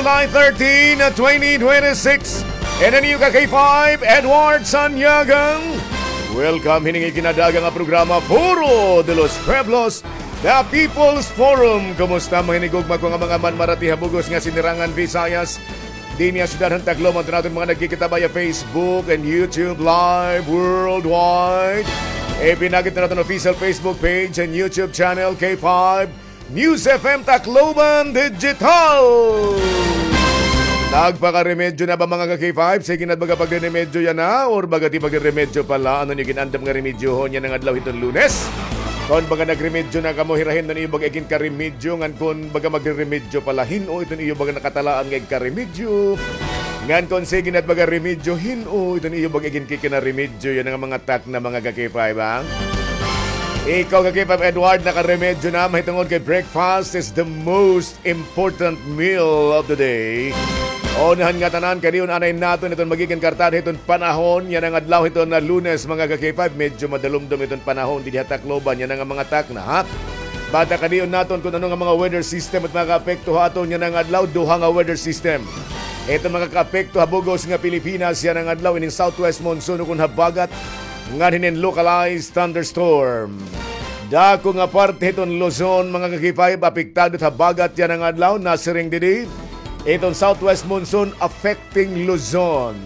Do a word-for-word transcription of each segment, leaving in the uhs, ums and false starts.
July thirteen, twenty twenty-six. And an iyo ka K five, Edward Sanyagang. Welcome hining ikinadaga nga programa, Foro de los Pueblos, The People's Forum. Kumusta, mga hinigugma ko nga mga manmarati ha bug-os nga sinirangan Visayas? Dinhi ha syudad han Tacloban, aton mga nagkikita via Facebook and YouTube Live worldwide. Ipinakita naton official Facebook page and YouTube channel, K five News F M Tacloban Digital. Nagpakaremedyo na ba, mga ka-K five? Sige na, baga pagreremedyo yana, or baga ti pagreremedyo pala? Ano niyo ginandam nga remedyohon yana nga adlaw hiton Lunes? Kon baga nagremedyo na kamo, hirahin na niyo baga iginkaremedyo, ngan kon baga magreremedyo pala, hin-o iton iyo baga nakatalaan nga igkaremedyo? Ngan kon sige na baga remedyo, hin-o iton iyo baga iginkikinaremedyo yana nga mga takna, mga ka-K five, ha? Ikaw, ka-K five Edward, nakaremedyo na, mahitungod kay breakfast is the most important meal of the day. Unahan nga tanan, kadiyon anay naton iton magigin kartada hiton panahon yana nga adlaw hiton Lunes, mga ka-K five. Medyo madalumdom iton panahon dinhi ha Tacloban yana nga mga takna, ha? Bata kadiyon naton kon ano nga mga weather system it makakaapekto ha aton yana nga adlaw. Duha nga weather system iton makakaapekto ha bug-os nga Pilipinas yana nga adlaw, ining southwest monsoon ukon habagat ngan hinin localized thunderstorm. Dako nga parte hiton Luzon, mga ka-K five, apektado it habagat yana nga adlaw, nasiring didi iton southwest monsoon affecting Luzon.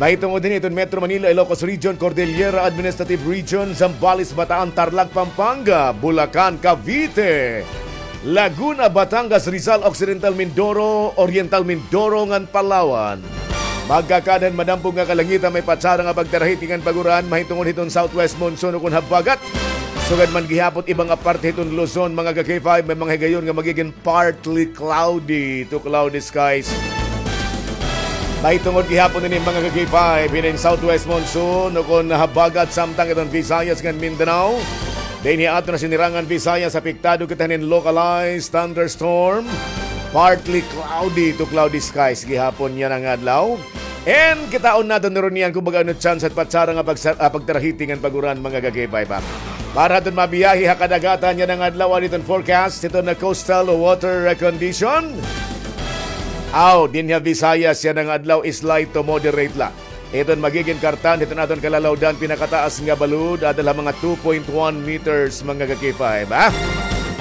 Mahitungod hini iton Metro Manila, Ilocos Region, Cordillera Administrative Region, Zambales, Bataan, Tarlac, Pampanga, Bulacan, Cavite, Laguna, Batangas, Rizal, Occidental Mindoro, Oriental Mindoro ngan Palawan. Magkakadhan madampog nga kalangitan, may patsara nga pagtarahiti ngan pag-uran mahitungod hiton southwest monsoon ukon habagat. Sugad man gihapon iba nga parte hiton Luzon, mga ka-K five, may mga higayon nga magigin partly cloudy to cloudy skies. Mahitungod gihapon ini, mga ka-K five, hinin southwest monsoon ukon habagat samtang iton Visayas ngan Mindanao. Dinhi aton nasinirangan Visayas, apektado kita hinin localized thunderstorm, partly cloudy to cloudy skies gihapon yana nga adlaw. And kitaon naton niyan kon baga ano chance it patsara nga pagsa-, ah, pagtarahiti ngan pag-uran, mga ka-K five, ha. Para aton mabiyahe ha kadagatan yana nga adlaw, an iton forecast hiton coastal water condition. Aw, dinhi ha Visayas yana nga adlaw, slight to moderate la iton magigin kartan hiton aton kalalawdan, pinakataas nga balod, adal ha mga two point one meters, mga ka-K five, ha?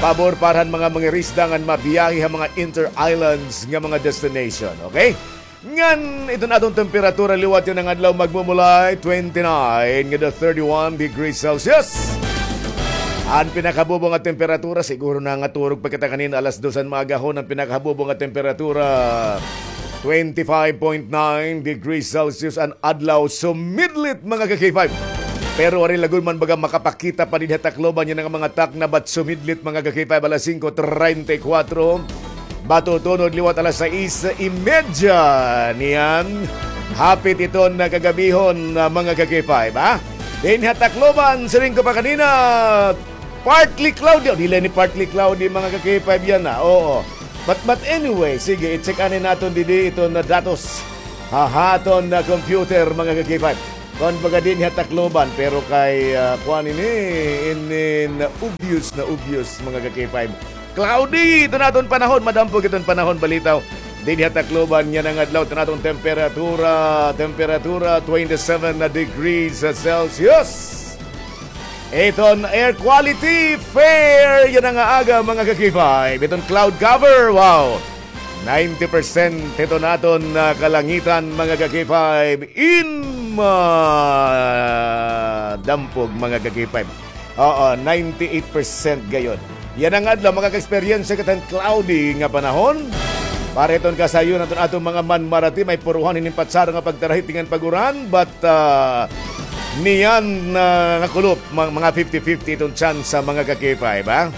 Pabor para han mga mangirisda ngan mabiyahe ha mga inter-islands nga mga destination, okay? Ngan iton aton temperatura liwat yana nga adlaw magmumulay twenty-nine ngada thirty-one degrees Celsius. An pinakahabubo nga temperatura, siguro nangaturog pa kita kanina alas dos han maagahon, an pinakahabubo nga temperatura, twenty-five point nine degrees Celsius an adlaw, sumidlit, mga ka-K five. Pero waray la gud man baga makapakita pa dinhi ha Tacloban yana nga mga takna, but sumidlit, mga ka-K five, alas singko treinta y cuatro. Matutunod liwat alas sais y media niyan. Hapit iton kagabihon, ah, mga ka-K five, ha? Dinhi ha Tacloban, siring ko pa kanina, partly cloudy. O, dili ni partly cloudy, mga ka-K five, yana, ha? Oo. But, but anyway, sige, i-check anay naton didi iton datos ha aton computer, mga ka-K five. Kon baga dinhi ha Tacloban, pero kay, ah, kuan ini, inin obvious na obvious, mga ka-K five. Cloudy iton aton panahon, madampog iton panahon, balitaw. Dinhi ha Tacloban yana nga adlaw, iton aton temperatura, temperatura, twenty-seven na degrees Celsius. Iton air quality, fair yana nga aga, mga ka-K five. Iton cloud cover, wow, ninety percent iton aton, ah, kalangitan, mga ka-K five, in madampog, mga ka-K five. Oo, ninety-eight percent gayod. Yana nga adlaw, makaka-experience kita hin cloudy nga panahon. Para iton kasayon naton, aton mga manmarati, may puruhan hinin patsara nga pagtarahiti ngan pag-uran, but, ah, niyan, ah, nakulop, mga, mga fifty fifty iton chance, mga ka-K five, ha?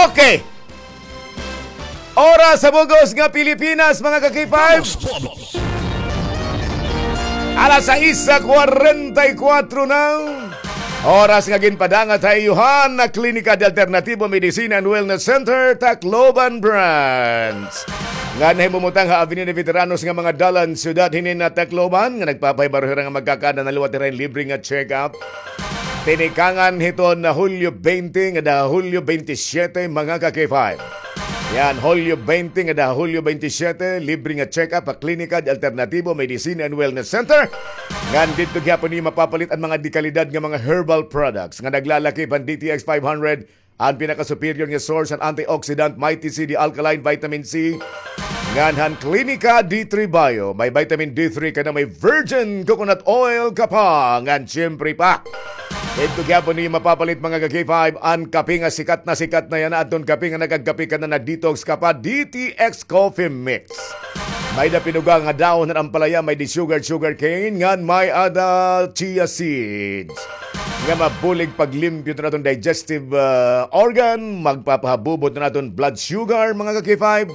Okay. Oras sa bug-os nga Pilipinas, mga ka-K five. Alas sais kwarenta y kuwatro na. Oras nga ginpadangat ha iyo han Klinika de Alternatibo Medicine and Wellness Center, Tacloban Branch, nga nahimumutang ha Avenida Veteranos nga mga dalan, syudad hinin Tacloban, nga nagpapahibaro hira nga magkakaada na liwat hira hin libre nga check-up. Tinikangan hiton Hulyo twenty ngada Hulyo twenty-seven, mga ka-K five. Yan, Hulyo twenty ngada Hulyo twenty-seven, libre nga check-up ha Klinika de Alternativo Medicine and Wellness Center. Ngan didto gihapon niyo mapapalit an mga dekalidad nga mga herbal products nga naglalakip han D T X five hundred, an pinaka-superior nga source han antioxidant, Mighty C D Alkaline Vitamin C. Ngan han Klinika D three Bio, may vitamin D three ka na, may virgin coconut oil ka pa, ngan siyempre pa. Didto gihapon niyo mapapalit, mga ka-K five, an kape nga sikat na sikat na yana, adton kape nga nagagkape ka na, nag-detox ka pa, D T X Coffee Mix. May-ada pinuga nga dahon han ampalaya, may-ada sugar, sugar cane, ngan may-ada chia seeds nga mabulig paglimpyo han aton digestive, ah, organ, magpapahabubot han aton blood sugar, mga ka-K five,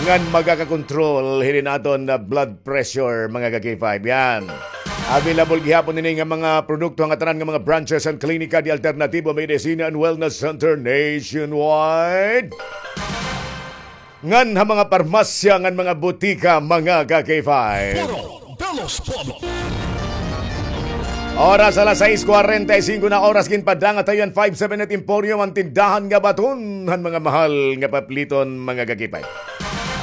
ngan magakakontrol hini han aton, ah, blood pressure, mga ka-K five. Yan. Available gihapon ini nga mga produkto han ngatanan nga mga branches han Klinika de Alternativo Medicine and Wellness Center nationwide. Ngan ha mga parmasya ngan mga butika, mga ka-K five. Foro de los Pueblos. Oras alas sais kuwarenta y singko na oras, ginpadangat ha iyo an five seven eight Emporium, an tindahan nga baton han mga mahal nga papliton, mga ka-K five.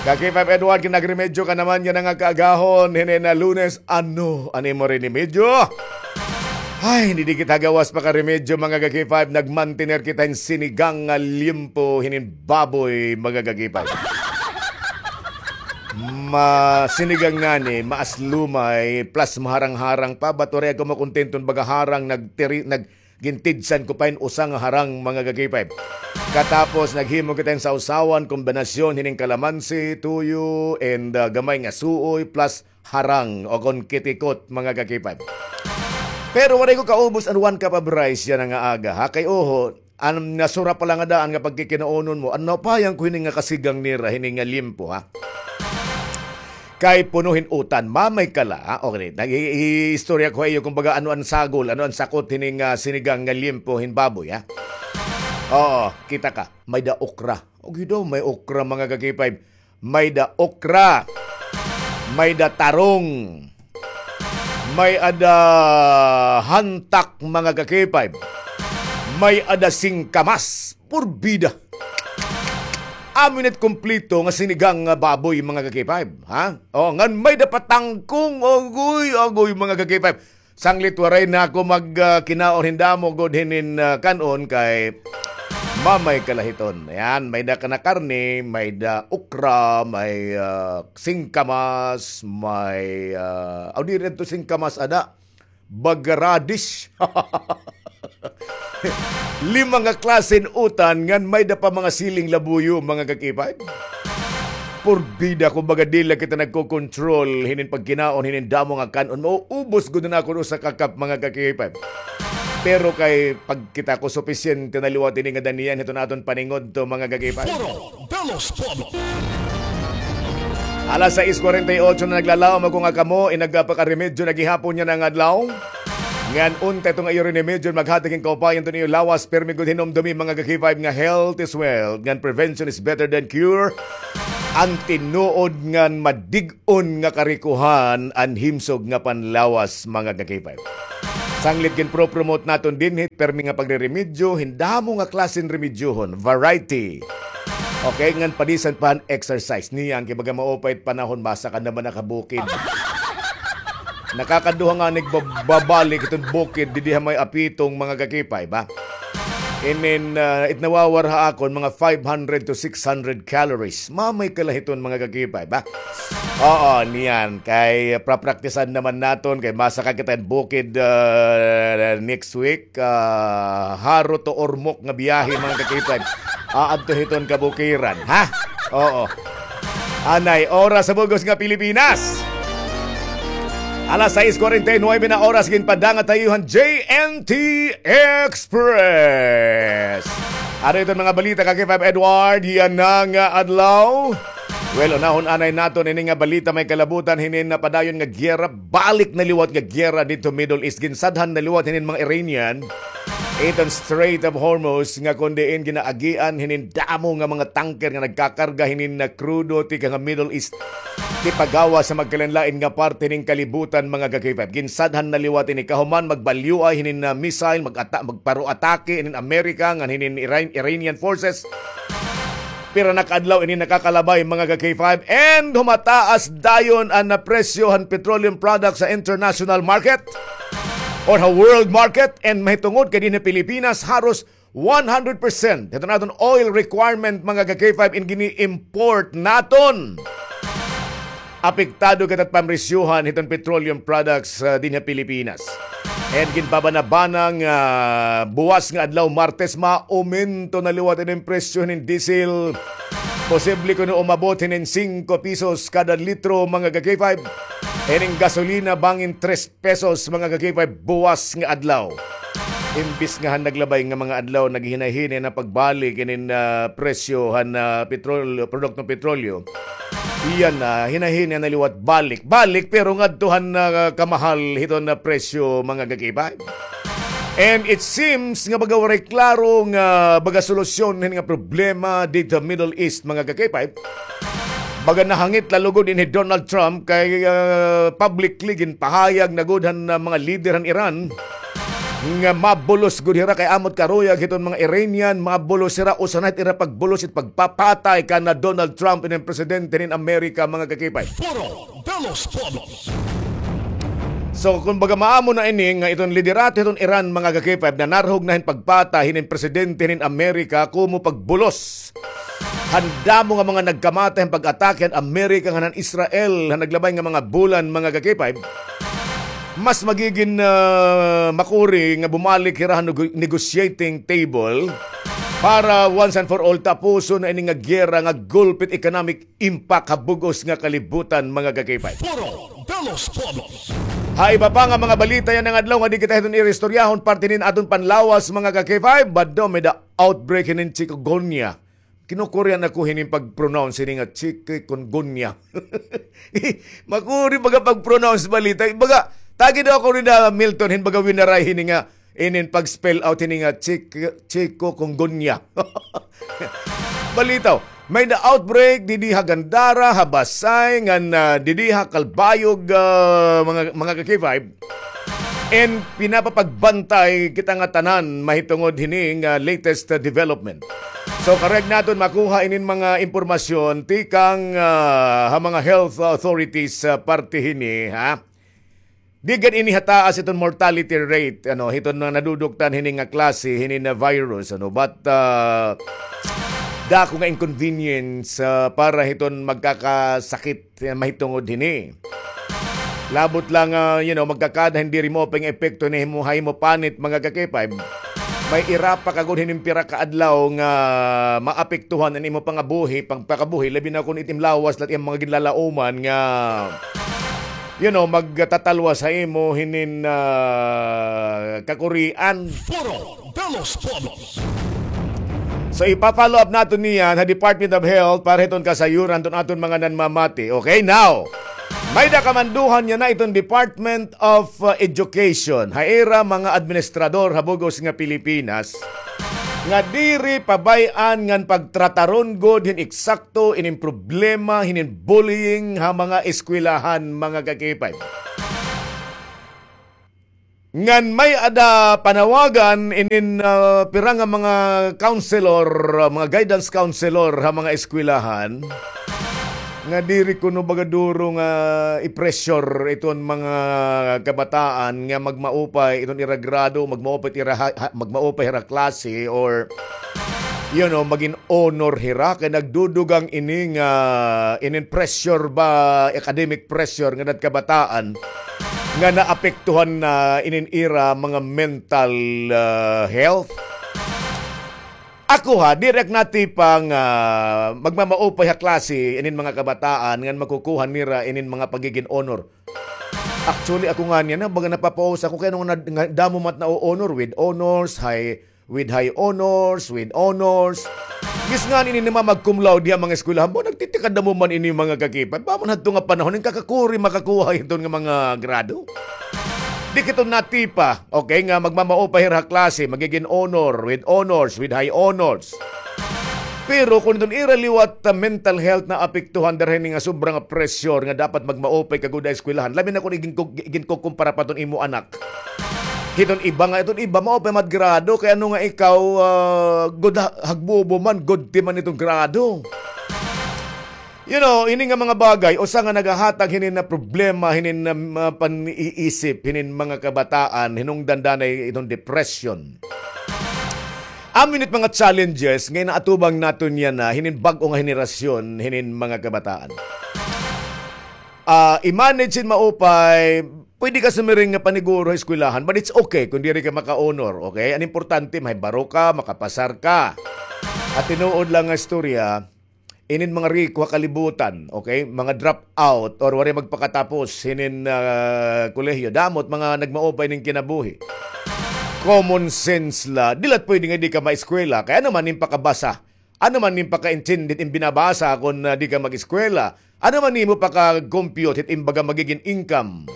Ka-K five Edward, kinagremedyo ka naman yana nga kaagahon, hini na Lunes, ano an imo remedyo? Ay, hindi kita gawas pa ka remedyo, mga ka-K five. Nagmantener kita hin sinigang nga liempo hinin baboy, mga ka-K five. Ma-, sinigang ngani, maaslumay, plus maharang-harang pa. Ba't waray ako makontento hin baga harang, nagtiri-, nag-, gintidsan ko pa hin usa nga harang, mga ka-K five. Katapos, naghimo kita hin sawsawan, kombinasyon hinin kalamansi, tuyo, and, ah, gamay nga suoy, plus harang o kon kitikot, mga ka-K five. Pero waray ko kaubos an one cup of rice yana nga aga, ha? Kay oho, an nasura pa la nga daan nga pagkikinaunon mo, an napayan ko hini nga kasigang nira, hini nga liempo, ha? Kay puno hin utan, mamay ka la, ha? Okay, nag-i-, i-istorya ko ha iyo, kumbaga, ano an sagol, ano an sakot hini nga sinigang nga liempo hin baboy, ha? Oo, kita ka, may-ada okra. Okay daw, may okra, mga ka-K five. May-ada okra, may-ada tarong, may-ada hantak, mga ka-K five, may-ada singkamas, purbida. Amo ini it kumpleto nga sinigang nga baboy, mga ka-K five, ha? O, ngan may-ada pa tangkong, agoy, agoy, mga ka-K five. Sanglit waray na ako mag, ah, kinaon hin damo gud hinin, ah, kan-on kay mamay ka la hiton. Ayan, may-ada ka na karne, may-ada okra, may, ah, singkamas, may, ah, aw, diri ito singkamas, ada, baga radish. Lima nga klase hin utan, ngan may-ada pa mga siling labuyo, mga ka-K five. Purbida, kumbaga, diri la kita nagko-control hinin pagkinaon, hinin damo nga kan-on. Mauubos gud na ako usa ka cup, mga ka-K five. Pero kay pagkita ko, supisyente na liwat ini nga daniyan hiton aton paningudto, mga ka-K five. Foro de los Pueblos. Alas sais kwarenta y otso na, naglalaom ako nga kamo, inagpakaremedyo na gihapon yana nga adlaw. Ngan unta ito nga iyo rinimedyo, maghatag hin kaupayan hiton iyo lawas, pirmi gud hinumdomi, mga ka-K five, nga health is wealth, ngan prevention is better than cure. An tinuod ngan madig-on nga karikohan an himsog nga panlawas, mga ka-K five. Sanglit ginpro-promote naton dinhi, pirmi nga pagriremedyo, hin damo nga klase hin remedyohon, variety. Okay, ngan padisan pa han exercise. Niyan, kay baga maupay it panahon, basta ka naman nakabukid. Nakakaduha nga nig bab-, babalik iton bukid, didi ha may Apitong, mga ka-K five, ba? Inin, ah, it nawawar ha akon, mga five hundred to six hundred calories. Mamay ka la hiton, mga ka-K five, ba? Oo, niyan. Kay, ah, prapraktisan naman naton, kay masaka kita hin bukid, ah, next week. Ah, haro to Ormoc nga biyahe, mga ka-K five. Aadto hiton kabukiran, ha? Oo. Anay, oras sa bug-os nga Pilipinas. Alas sais kwarenta y nuebe na oras, ginpadangat ha iyo han J N T Express. Ano iton mga balita, ka-K five Edward, yana nga adlaw? Well, unahon anay naton ini nga balita, may kalabutan hinin napadayon nga giyera, balik na liwat nga giyera didto Middle East, ginsadhan na liwat hinin mga Iranian iton Strait of Hormuz, nga kon diin ginaagian hinin damo nga mga tanker nga nagkakarga hinin nga krudo tikang ha Middle East, tipagawas ha magkalainlain nga parte hinin kalibutan, mga ka-K five. Ginsadhan na liwat ini kahuman magbalyoay hinin nga missile, mag-ata-, magparo-atake hinin Amerika ngan hinin Iran-, Iranian forces. Pira na ka adlaw ini nakakalabay, mga ka-K five, and humataas dayon an, ah, presyo han petroleum products sa international market or ha world market, and mahitungod kay dinhi ha Pilipinas, haros one hundred percent hiton aton oil requirement, mga ka-K five, in gini-import naton. Apektado kita it pamresyohan hiton petroleum products, ah, dinhi ha Pilipinas. And ginpabana-bana nga buwas nga adlaw, Martes, maumento na liwat ini an presyo hinin diesel. Posible kuno umabot hinin singko pesos kada litro, mga ka-K five. Ining gasolina bangin tres pesos, mga ka-K five, buwas nga adlaw. Imbis nga han naglabay nga mga adlaw, naghinay-hinay na pagbalik inin, ah, presyo han, ah, petrol-, produktong petrolyo. Iyan na, hinay-hinay na liwat balik. Balik, pero ngadto han, ah, kamahal hiton nga presyo, mga ka-K five. And it seems nga baga waray klaro nga baga solusyon hin nga problema didto ha Middle East, mga ka-K five. Baga nahangit la lugod ini hi Donald Trump kay, ah, publicly ginpahayag na gud han, ah, mga lider han Iran nga mabulos gud hira kay amo it karuyag hiton mga Iranian, mabulos hira, usa na hit ira pagbulos it pagpapatay kana Donald Trump, ini an presidente hin Amerika, mga ka-K five. Foro de los Pueblos. So, kumbaga, maamo na ini nga iton liderato hiton Iran, mga ka-K five, nanarhog na hin pagpatay hinin presidente hinin Amerika, komo pagbulos han damo nga mga nagkamatay han pag-atake han Amerika ngan han Israel han naglabay nga mga bulan, mga ka-K five. Mas magigin, ah, makuri nga bumalik hira han nego-, negotiating table para once and for all tapuson na ini nga giyera nga gulpi it economic impact ha bug-os nga kalibutan, mga ka-K five. Foro de los Pueblos. Ha iba pa nga mga balita yana nga adlaw nga di kita hiton iristoryahon, parte hinin aton panlawas, mga ka-K five, bado may-ada outbreak hinin chikungunya. Kinu-Korean ako hinin pag-pronounce hini nga chikungunya. Makuri baga pag-pronounce balita. Baga, tagi daw ako ni na Milton hin baga winaray hini nga inin pag-spell out hini nga chik-, chikungunya. Balitaw, may-ada outbreak didi ha Gandara, ha Basay, ngan, ah, didi ha Calbayog, ah, mga, mga ka-K five. And pinapapagbantay kita nga tanan mahitungod hini nga latest, ah, development. So, karuyag naton makuha inin mga impormasyon tikang, ah, ha mga health authorities, ah, parte hini, ha? Di gad ini hataas iton mortality rate, ano, hiton mga naduduktan hini nga klase, hini nga virus, ano, but, ah, dako nga inconvenience, ah, para hiton magkakasakit, ah, mahitungod hini. Labot la nga, ah, you know, magkakada hin diri maupay nga epekto hini ha imo, ha imo panit, mga ka-K five. May ira pa ka gud hinin pira ka adlaw nga maapektuhan an imo pangabuhi, pagpakabuhi, labi na kon it im lawas la it im mga ginlalauman nga, you know, magtatalwas ha imo hinin, ah, kakurian. Foro de los Pueblos. So, ipa-follow up naton niyan ha Department of Health para hiton kasayuran hiton aton mga nanmamati. Okay, now, may-ada kamanduhan yana iton Department of, uh, Education, ha ira mga administrador ha bug-os nga Pilipinas, nga diri pabay-an ngan pagtrataron gud hin eksakto inin problema hinin bullying ha mga eskwelahan, mga ka-K five. Ngan may-ada panawagan inin, ah, pira nga mga counselor, ah, mga guidance counselor ha mga eskwelahan nga diri kuno baga duro nga i-pressure iton mga kabataan nga magmaupay iton ira grado, magmaupay ira ha, ha, magmaupay ira klase, or, you know, magin honor hira kay nagdudugang ini nga inin pressure ba, academic pressure nga nagkabataan nga naapektuhan na inin ira mga mental, ah, health. Ako ha, diri ak natipa nga magmamaupay ha klase inin mga kabataan ngan makukuha nira inin mga pagigin honor. Actually, ako ngani yana, baga napapausa ako kay ano nga, nga damo man it na-honor, with honors, high, with high honors, with honors. Bis ngani ini mga mag-cum laude ha mga eskwelahan, ba, nagtitikadamo man ini, mga ka-K five. Ba man hadto nga panahon, hin kakakuri makakuha hiton nga mga grado. Di kita natipa, okay, nga magmamaupay hira ha klase, magigin honor, with honors, with high honors. Pero kon iton ira liwat, ah, mental health naapektuhan dara hini nga sobra nga pressure nga dapat magmaupay ka gud ha eskwelahan, labi na kon igin-, iginkukumpara pa iton imo anak. Hiton iba nga, iton iba, maupay man it grado, kay ano nga ikaw, ah, good ha-, hagbubo man, good ti man iton grado. You know, ini nga mga bagay, usa nga nagahatag hinin na problema, hinin na, ah, pan-iisip, hinin mga kabataan, hinungdan danay iton depression. Amo ini it mga challenges nga inaatubang naton yana, hinin bag-o nga henerasyon, hinin mga kabataan. Ah, i-manage hin maupay, pwede ka sumiring nga paniguro ha eskwelahan, but it's okay kung diri ka maka-honor, okay? An importante, mahibaro ka, makapasar ka. At tinuod lang nga istorya, inin mga riko ha kalibutan, okay? Mga drop out or waray magpakatapos hinin, ah, kolehiyo. Damo it mga nagmaupay nin kinabuhi. Common sense la, diri la pwede nga di ka maeskwela. Kay ano man nim pakabasa? Ano man nim pakaintindi hit im binabasa kon, ah, di ka mag-eskwela? Ano man nimo paka-compute hit im baga magigin income?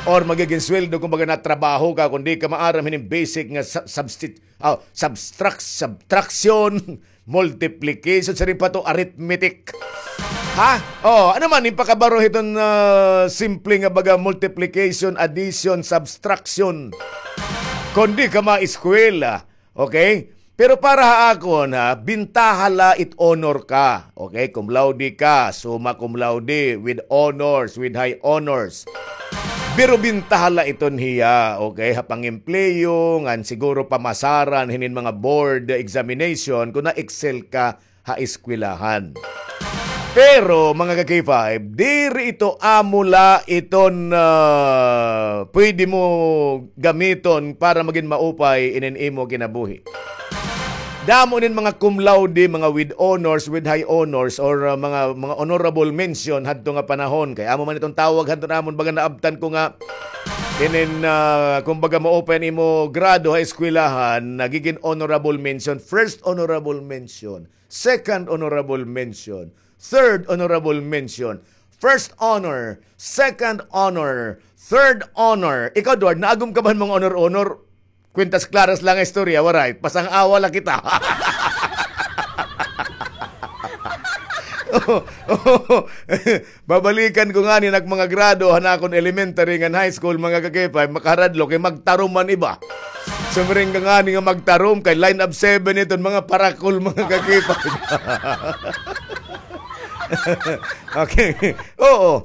Or magigin sweldo kung baga natrabaho ka kung di ka maaram hinin basic nga sa-, substit-, ah, subtract-, subtraction, multiplication, siring pa to, arithmetic. Ha? Oh, ano man nim pakabaro hiton, ah, simple nga baga multiplication, addition, subtraction? Kung di ka maeskwela, okay? Pero para ha akon, ha, bintaha la it honor ka. Okay? Cum laude ka, summa cum laude, with honors, with high honors. Pero bintaha la iton hiya, okay, ha pangempleyo, ngan siguro pamasaran hinin mga board examination, kung na-excel ka ha eskwelahan. Pero, mga ka-K five, diri ito amo la iton, ah, pwede mo gamiton para magin maupay inin imo kinabuhi. Damo inin mga cum laude, mga with honors, with high honors, or, ah, mga, mga honorable mention hadto nga panahon. Kay amo man iton tawag hadto namon, baga naabtan ko nga inin, ah, kumbaga maupay an imo grado ha eskwelahan, nagigin honorable mention, first honorable mention, second honorable mention, third honorable mention, first honor, second honor, third honor. Ikaw, Edward, naagom ka ba hin mga honor-honor? Kwintas klaras la nga istorya, waray. Pasang-awa la kita. Oo, oo. Babalikan ko ngani an ak mga grado han akon elementary ngan high school, mga ka-K five, makaharadlo kay magtarom an iba. Sumiring ka ngani nga magtarom kay line of seven iton mga parakol, mga ka-K five. Okay. Oo.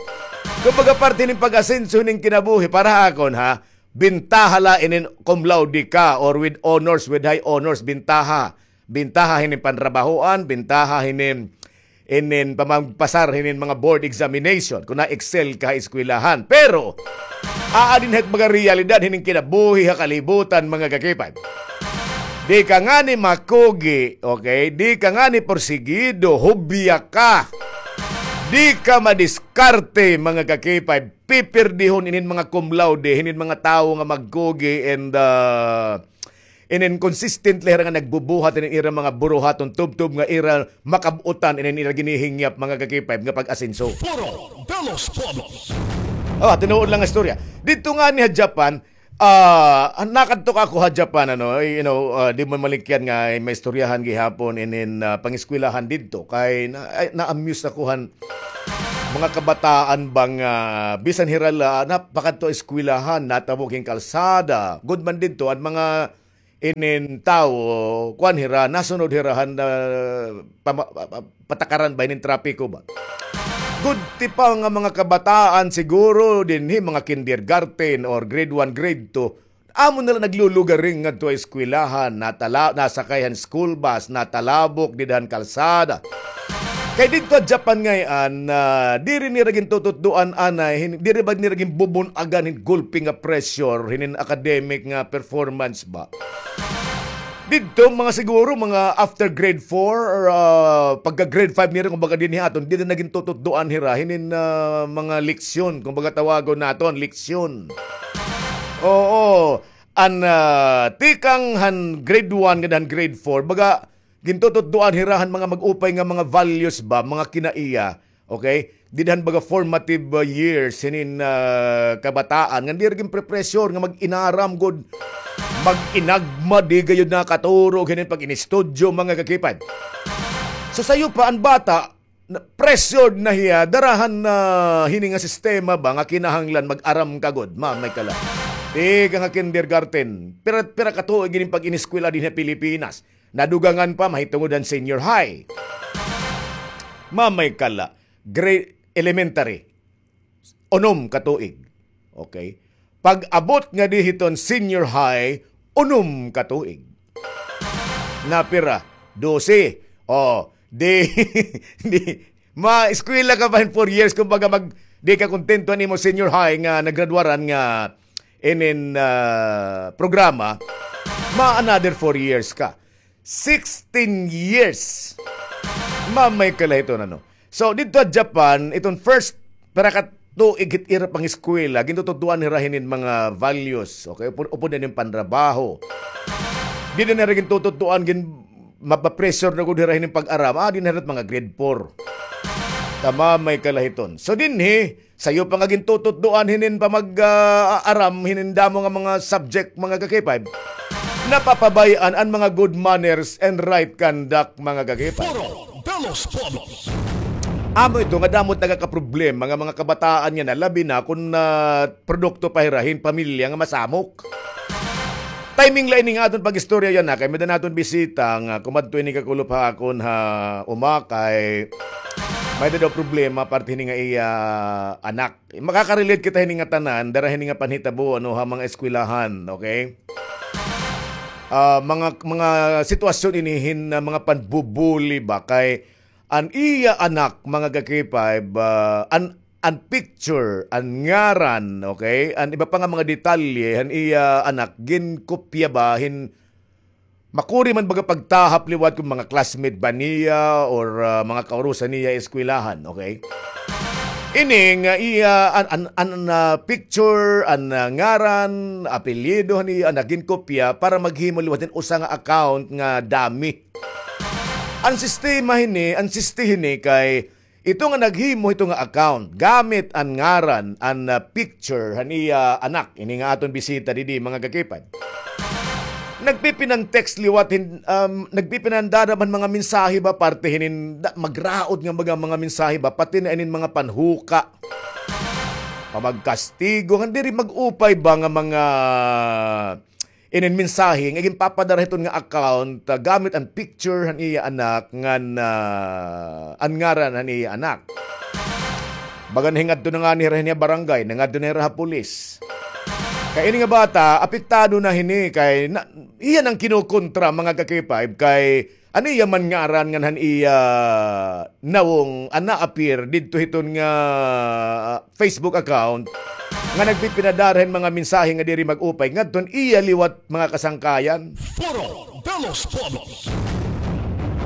Kumbaga, parte hin pag-asenso hin kinabuhi para ha akon, ha? Bintaha la inin cum laude ka or with honors, with high honors, bintaha. Bintaha hinin panrabahoan, bintaha hinin, inin pamagpasar hinin mga board examination, kung na-excel ka ha eskwelahan. Pero, aadi na hit mga realidad hinin kinabuhi ha kalibutan, mga ka-K five. Di ka ngani makugi, okay? Di ka ngani porsigido, hubya ka. Di ka madiskarte, mga ka-K five. Pipirdihon inin mga cum laude, hinin mga tawo nga magkugi and, ah, inin consistent la hira nga nagbubuhat inin ira mga buruhaton tubtob nga ira makab-utan inin ira ginihingyap, mga ka-K five, nga pag-asenso. Puro de los Pueblos. Oh, tinuod lang nga istorya. Didto ngani ha Japan, ah, nakadto ako ha Japan, ano, you know, ah, di mo malikyan nga may istoryahan gihapon inin, ah, pangeskwelahan didto. Kay na, ay, na-amuse ako han mga kabataan ba nga bisan hira la, napakadto eskwelahan, natabok hin kalsada. Gud man didto, an mga inin tawo, kuan hira, nasunod hira han, ah, pama-, pa-, pa-, patakaran ba hinin trapiko ba. Gud ti pa nga mga kabataan siguro dinhi, mga kindergarten or grade one, grade two, amo na la naglulugaring ngadto ha eskwelahan, natala-, nasakay han school bus, natalabok dida han kalsada. Kay didto ha Japan ngay-an, ah, diri nira gintututdoan anay, hin-, diri ba nira ginbubun-agan hin gulpi nga pressure, hinin academic nga performance ba? Didto, mga siguro, mga after grade four or, ah, pagka grade five nira, kumbaga, dinhi ha aton, dida na gintututdoan hira hinin, ah, mga leksyon, kumbaga, tawagon naton, leksyon. Oo. An, ah, tikang han grade one ngan han grade four, baga, gintututdoan hira han mga mag-upay nga mga values ba, mga kinaiya, okay? Dida han baga formative, uh, years hinin, uh, kabataan, nga diri ginpe-pressure nga mag-inaram gud, mag-inagma, di gayud nakaturog hinin pag-inistudyo, mga ka-K five. So, sayo pa, an bata, na, pressured na hiya, dara han, uh, hini nga sistema ba nga kinahanglan mag-aram ka gud, mamay ka la. Tikang ha kindergarten. Pira, pira ka tuig ini pag-ineskwela dinhi ha Pilipinas. Nadugangan pa, mahitungod han senior high. Mamay ka la, grade elementary. Unom ka tuig. Okay? Pag-abot ngadi hiton senior high, unom ka tuig. Napira? Dose. O, di, di, ma-eskwela ka pa hin four years, kumbaga mag, di ka kontento han imo senior high nga naggraduaran nga inin, ah, programa, ma another four years ka. Sixteen years. Mamay ka la hiton ano. So, didto ha Japan, iton first, pira ka tuig hit ira pangeskwela, gintutudloan hira hinin mga values, okay? Upod, upod na inin panrabaho. Dida na hira gintutudloan, gin-, mapapressure na gud hira hinin pag-aram. Ah, dida na hira mga grade four. Mamay ka la hiton. So, dinhi, sayo pa nga gintututloan hinin pamag, ah, aram, hinin damo nga mga subject, mga ka-K five. Napapabay-an an mga good manners and right conduct, mga ka-K five. Foro de los Pueblos. Amo ito nga damo it nagakaproblema nga mga kabataan yana, labi na kon, ah, produkto pa hira hin pamilya nga masamok. Timing la ini nga aton pag-istorya yana, kay may-ada naton bisita nga kumadto ini kakulop ha akon ha uma, kay may-ada daw problema parte hini nga iya anak. Makaka-relate kita hini nga tanan, dara hini nga panhitabo, ano, ha mga eskwelahan, okay? Ah, mga, mga sitwasyon ini hin, ah, mga panbubuli ba, kay an iya anak, mga ka-K five, ah, an, an picture, an ngaran, okay? An iba pa nga mga detalye han iya anak, ginkopya ba hin makuri man baga pagtahap liwat kon mga classmate ba niya or, ah, mga kaurusan niya eskwelahan, okay? Ini nga iya an, an, an, ah, picture, an, ah, ngaran, apelyido han iya anak ginkopya para maghimo liwat hin usa nga account nga dummy. An sistema hini, an siste hini kay ito nga naghimo hito nga account, gamit an ngaran, an, ah, picture han iya anak, ini nga aton bisita didi, mga ka-K five. Nagpipinan-text liwat hin, um, nagpipinandadam han mga mensahe ba, parte hinin, da, magraot nga mga, mga mensahe ba, pati na inin mga panhuka. Pamagkastigo, nga diri mag-upay ba nga mga inin mensahe nga ginpapadara hiton nga account, ah, gamit an picture han iya anak ngan, ah, an ngaran han iya anak. Baga nahingadto na ngani hira hini ha barangay, nangadto na hira ha pulis. Kay ini nga bata, apektado na hini kay na, iya na an kinokontra, mga ka-K five, kay an iya man ngaran ngan han iya nawong an na-appear didto hiton nga, ah, Facebook account nga nagpipinadara hin mga mensahe nga diri mag-upay ngadto han iya liwat mga kasangkayan. Foro de los Pueblos.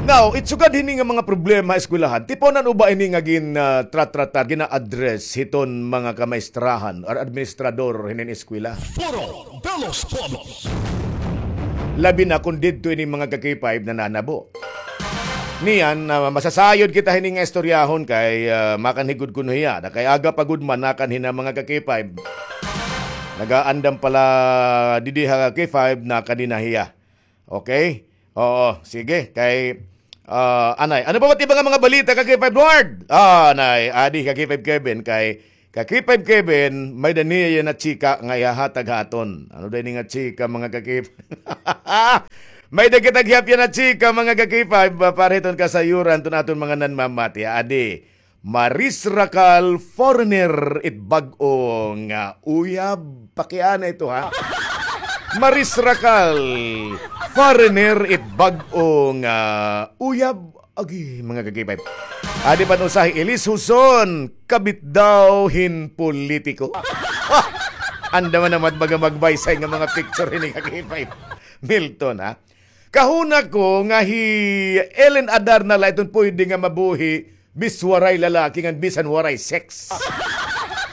Now, it sugad hini nga mga problema ha eskwelahan, tipunan uba ini nga gin, ah, tratratar, gina-address hiton mga kamaestrahan or administrador hinin eskwela. Foro de los Pueblos. Labi na kon didto ini mga ka-K five nananabo. Niyan, ah, masasayod kita hini nga istoryahon kay, ah, makanhi gud kuno hiya. Na kay aga pa gud man nakanhi na mga ka-K five. Nagaandam pala didi ha K five, nakanhi na hiya. Okay? Oo, sige. Kay, ah, anay. Ano pa ba it iba nga mga balita, ka-K five Lord? Ah, anay. Adi, ka-K five Kevin, kay ka-K five Kevin, may-ada niya yana chika nga ihahatag ha aton. Ano daw ini nga chika, mga ka-K five? May-ada kita gihap yana chika, mga ka-K five, ah, para hiton kasayuran hiton aton mga nanmamati. Adi, Maris Racal, foreigner it bag-o nga uyab. Pakiana ito, ha? Maris Racal, foreigner it bag-o nga uyab. Agi, mga ka-K five. Adi pa an usa hi Elis Huson, kabit daw hin politiko. Ah! Andam man naman baga magbaysay nga mga picture hini, ka-K five. Milton, ha? Kahuna ko nga hi Ellen Adarna la iton pwede nga mabuhi bis waray lalaki ngan bisan waray sex.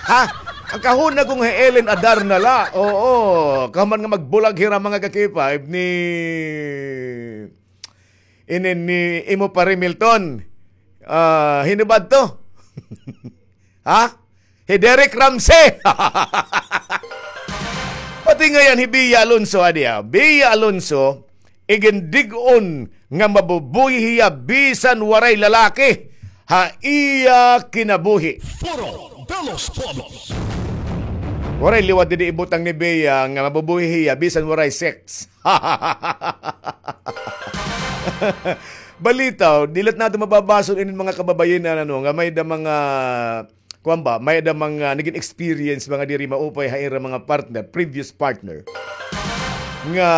Ha? An kahuna ko nga hi Ellen Adarna la. Oo. Kahuman nga magbulag hira, mga ka-K five, ni inin ni imo pare Milton. Ah, hin-o ba adto? Ha? Hi Derek Ramsey. Pati ngay-an hi Bea Alonso, adi, ha. Bea Alonso, igindig-on nga mabubuhi hiya bisan waray lalaki ha iya kinabuhi. Foro de los Pueblos. Waray liwat didi ibutang ni Bea nga mabubuhi hiya bisan waray sex. Balitaw, dili naton mababason inin mga kababayen-an, ano, nga may-ada mga, kuwan ba, may-ada mga nagin experience, mga diri maupay ha ira mga partner, previous partner. Nga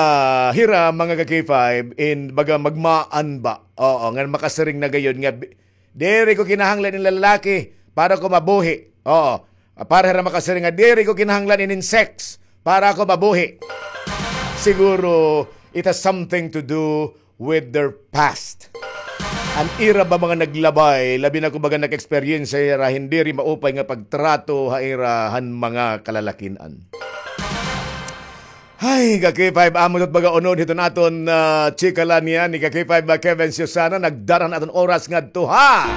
hira mga ka-K five in baga magmaan ba? Oo, nga makasiring na gayod nga bi-, diri ko kinahanglan in lalaki para ko mabuhi. Oo. Para hira makasiring nga, diri ko kinahanglan inin sex para ako mabuhi. Siguro, it has something to do with their past. An ira ba mga naglabay, labi na kumbaga nag-eksperyensya hira hin diri maupay nga pagtrato ha ira han mga kalalakin-an. Hay, ka-K five, amo ito baga unod hiton aton, ah, chika la niyan ni ka-K five, ah, Kevin Susana, nagdara an aton oras ngadto ha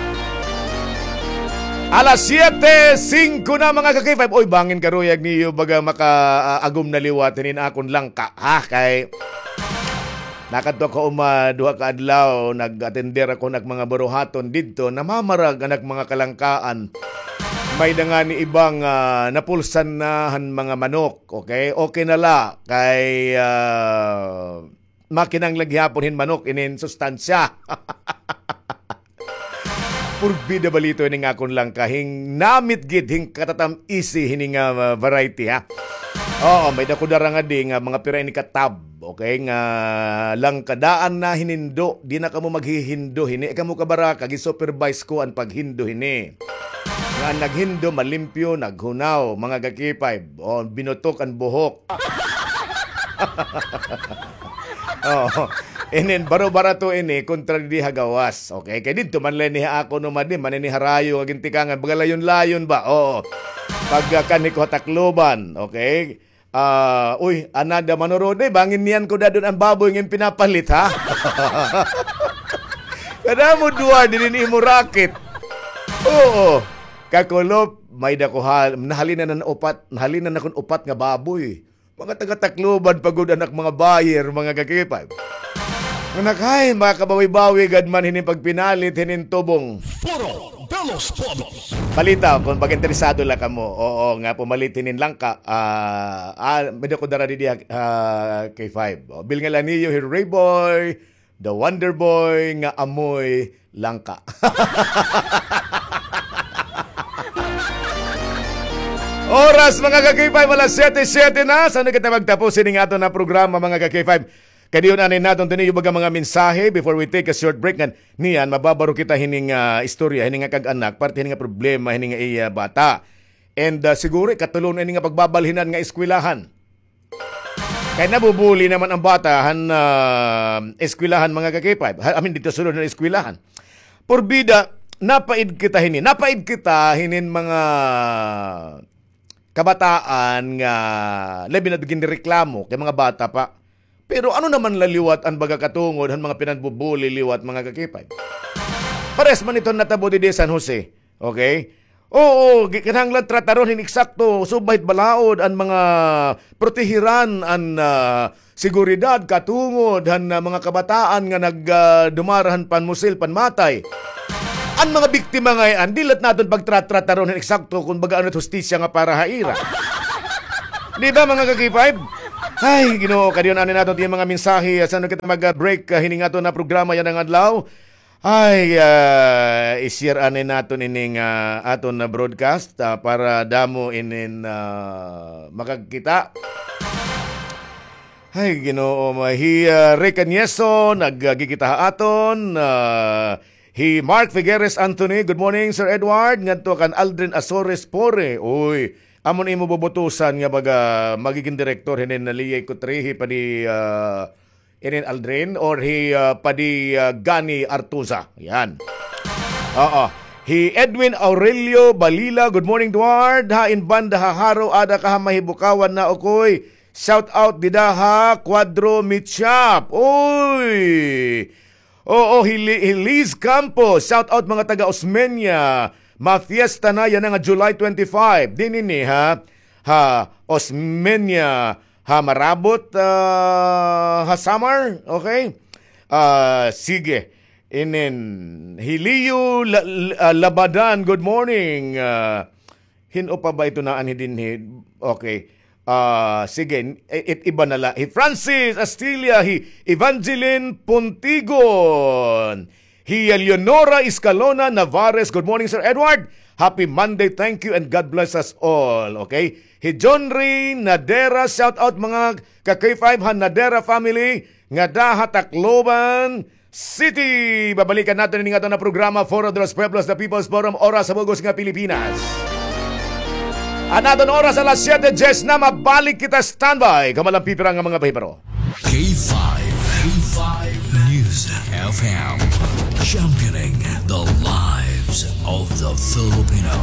alas siyete singko na, mga ka-K five. Oy, bangin karuyag niyo baga maka, ah, agom na liwat hinin akon langka, ha? Kay nakadto ako uma duha ka adlaw, nag-atender ako han ak mga buruhaton didto, namamarag an ak mga kalangkaan. May-ada ngani ibang, ah, napulsan na han mga manok. Okay? Okay na la kay, ah, makinanglan gihapon hin manok inin sustansya. Purbida balito ini nga akon langka, hin namit gid, hin katatam-isi hini nga, ah, variety, ha. Oo, may-ada ko dara ngadi nga mga pira ini ka tub, okay, nga langka. Daan na hinindo, di na kamo maghihindo hini. Ay kamo kabaraka, gi-supervise ko an paghindo hini. Nga an naghindo, malimpyo, naghunaw, mga ka-K five. O, binutok an buhok. Oo. Inin, baro-barato ini, kontra didi ha gawas. Okay? Kay didto man la ini ha akon uma, di man ini ha Rayo nga gintikangan, baga layon-layon ba? Oo. Pagkanhi ko ha Tacloban, okay? Ah, uy, anada manurod, eh, bangin niyan ko dadon an baboy nga pinapalit, ha? Kadamo duwa, didi imo racket. Oo. Kakulop, may-ada ko ha-, nahalinan an upat, nahalinan akon upat nga baboy. Mga taga-Tacloban pa gud an ak mga buyer, mga ka-K five. Nga nakay, makabawi-bawi gad man hinin pagpinalit hinin tubong. Foro de los Pueblos. Balita, kon pag-interesado la kamo, oo, nga pumalit hinin langka, ah, ah, may-ada ko dara didi, ah, K five. O, bilngan la niyo hi Rayboy, The Wonder Boy nga amoy langka. Oras, mga ka-K five, alas siyete, siyete na. San-o kita magtapos ini nga aton nga programa, mga ka-K five? Kadiyon anay naton tiniyo baga mga mensahe before we take a short break. Ngan niyan, mababaro kita hini nga, ah, istorya, hini nga kag-anak, parte hini nga problema, hini nga iya bata. And, ah, siguro, ikatulo na ini nga pagbabalhinan nga eskwelahan. Kay nabubuli naman an bata han, ah, eskwelahan, mga ka-K five. Ha, I mean, didto sulod han eskwelahan. Purbida, napaid kita hini. Napaid kita hinin mga kabataan nga labi na ginreklamo kay mga bata pa. Pero ano naman la liwat an baga katungod han mga pinanbubuli liwat, mga ka-K five? Parehas man ito natabo didi San Jose. Okay? Oo, gi-, kinahanglan trataron hin eksakto, subay hit balaod an mga protehiran an, ah, seguridad katungod han, ah, mga kabataan nga nag, ah, dumara han panmusil, panmatay. An mga biktima ngay-an, dili la naton pagtratrataron hin eksakto kon baga ano it hustisya nga para ha ira. Di ba, mga ka-K five? Ay, Ginoo, kadiyon anay naton it mga mensahe, ah, san-o kita mag, ah, break, ah, hini nga aton nga programa yana nga adlaw. Ay, ah, i-share anay naton ini nga aton nga broadcast, ah, para damo inin, ah, makagkita. Ay, Ginoo, ma-, hi, ah, Rick Añeso, nagkikita ha aton, ah, hi Mark Figueres Anthony, good morning, Sir Edward, ngadto kan Aldrin Azores Pore. Uy, amo an imo bubutusan nga baga magigin direktor hinin Leyte Kutrihi pa di, ah, Inin Aldrin or hi, ah, Padi, ah, Gani Artuza. Yan. Oo. Hi Edwin Aurelio Balila, good morning, Edward. Ha, in banda ha Jaro, ada ka ha Mahibukawan na, ukoy. Shout out dida ha Cuadro Meat Shop. Uy! Oo, hi Li-, hi Liz Campos. Shout out mga taga Osmeña. Mafiesta na yana nga July twenty-five. Dinhi ini, ha? Ha Osmeña. Ha Marabot, ah, ha Samar, okay? Ah, sige. Inin, hi Leo La-, La-, ah, Labadan, good morning. Ah, Hin-o pa ba ito na anhi dinhi? Okay. Ah, sige, i-, it iba na la. Hi Francis Astilia, hi Evangeline Puntigon, hi Eleonora Escalona Navares. Good morning, Sir Edward. Happy Monday. Thank you and God bless us all. Okay? Hi John Ray Nadera, shout out mga ka K five han Nadera family ngada ha Tacloban City. Babalikan naton ini nga aton nga programa, Foro de los Pueblos, the People's Forum, Oras sa Bug-os nga Pilipinas. An aton oras alas siyete dyes na, mabalik kita, standby. Kamo la an pipira nga mga pahibaro. K five, K five News F M, championing the lives of the Filipino.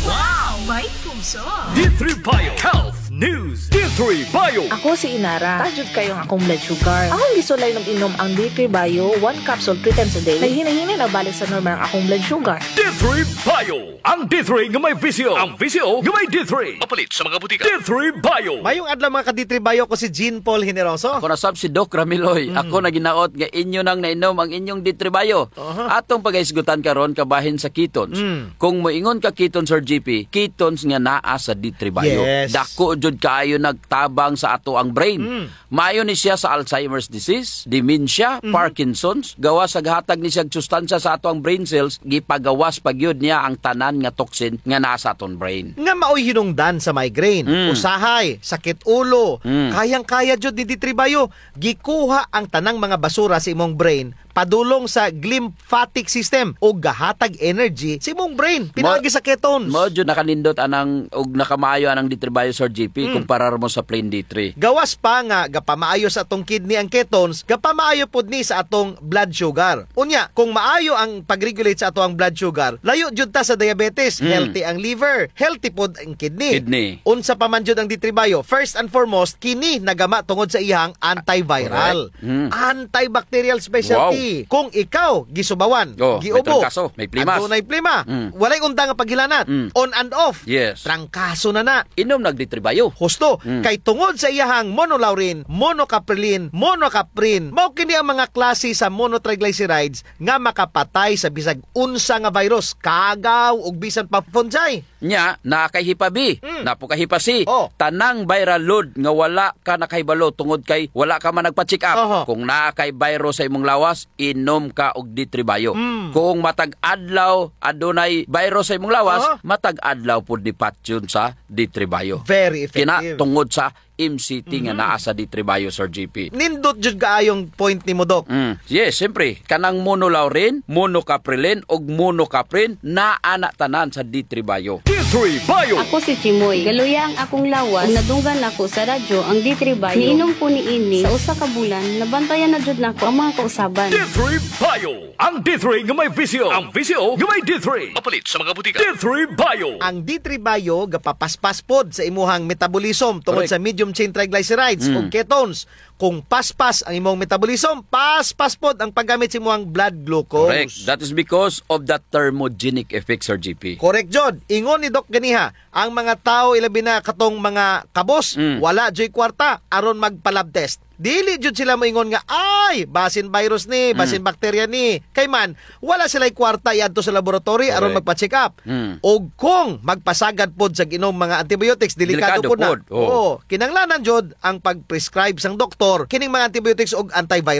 Wow! May puso! D three Bio Health News. D three Bio. Ako si Inara. Taas jud kaayo ang akong blood sugar. Akong gisulay inom-inom ang D three Bio, one capsule three times a day. Naghinay-hinay na balik sa normal ang akong blood sugar. D three Bio. Ang D three nga may V C O. Ang V C O nga may D three. Mapalit sa mga butika. D three Bio. Mayong adlaw, mga ka-D three Bio, ko si Jean Paul Generoso. Ako na sab si Doc Ramiloy. Mm. Ako naghinaot nga inyo nang nainom ang inyong D three Bio. Aha. Atong pagahisgutan karon kabahin sa ketones. Mm. Kung moingon ka ketones, Sir G P, ketones nga naa sa D three Bio. Yes. Dako jud kaayo nagtabang sa ato ang brain. Mm. Maayo ni siya sa Alzheimer's disease, dementia, Mhm. Parkinson's. Gawas sa gahatag ni siya sustansya sa ato ang brain cells, gipagawas pa gyud niya ang tanan nga toxin nga naa sa aton brain. Nga maoy hinungdan sa migraine, Mm. usahay, sakit ulo, Mm. kayang-kaya jud ni D three Bio. Gikuha ang tanang mga basura sa imong brain padulong sa glymphatic system ug gahatag energy sa imong brain pinaagi sa ketones. Mao jud nakanindot anang ug nakamaayo anang D three Bio, Sir G P, Mm. kumparar mo sa plain D three. Gawas pa nga gapamaayo sa atong kidney ang ketones, gapamaayo pod ni sa atong blood sugar. Unya, kung maayo ang pag-regulate sa ato ang blood sugar, layo jud ta sa diabetes, Mm. healthy ang liver, healthy pod ang kidney. Kidney. Unsa pa man jud ang D three Bio? First and foremost, kini nagama tungod sa iyang antiviral. Correct. Mm. Antibacterial specialty. Wow. Kung ikaw gisubawan, Oh, may giubo, trangkaso, may plimas. Adunay plima, Mm. walay unda nga paghilanat, Mm. on and off, Yes. trangkaso na na. Inom nag D three Bio. Husto, Mm. kay tungod sa iyahang monolaurin, monocaprilin, monocaprin, mao kini ang mga klase sa monotriglycerides nga makapatay sa bisag unsa nga virus, kagaw, ug bisan pa fungi. Nya, naa kay hepa B, Mm. naa pod kay hepa C. Oh. Tanang viral load nga wala ka nakahibalo tungod kay wala ka man nagpa-check up. Aha. Kung naa kay virus sa imong lawas, inom ka og D three Bio. Mm. Kung matag adlaw adunay virus sa imong lawas, Aha. matag adlaw pod ni patyon sa D three Bio. Very effective. Kina tungod sa M C T nga Mhm. naa sa D three Bio, Sir G P. Nindot jud kaayong point nimo, Doc. Mm. Yes, siyempre. Kanang monolaurin, monocaprilin, ug monocaprin, naa na tanan sa D three Bio. D three Bio. Ako si Chimoy. Galuya ang akong lawas ug nadunggan nako sa radyo ang D three Bio. Niinom ko niini sa usa ka bulan, nabantayan na jud nako ang mga kausaban. D three Bio. Ang D three nga may V C O. Ang V C O nga may D three. Mapalit sa mga butika. D three Bio. Ang D three Bio gapapaspas pod sa imuhang metabolism tungod Correct. sa medium chain triglycerides Mm. ug ketones. Kung paspas ang imong metabolism, paspas pod ang paggamit sa imuhang blood glucose. Correct. That is because of the thermogenic effect, Sir G P. Correct jud. Ingon ni Doc ganiha, ang mga tawo, ilabi na katong mga kabos, Mm. wala juy kwarta aron magpa-lab test. Dili jud sila moingon nga, "Ay, basin virus ni, basin Mm. bakterya ni." Kay man, wala sila'y kwarta iadto sa laboratory aron Correct. magpa-check up. Mm. Ug kung magpasagad pod sa inom mga antibiotics, delikado Delikado pod na. pod, oo. Oo, kinahanglanan jud ang pag-prescribe sang doktor kining mga antibiotics ug antiviral.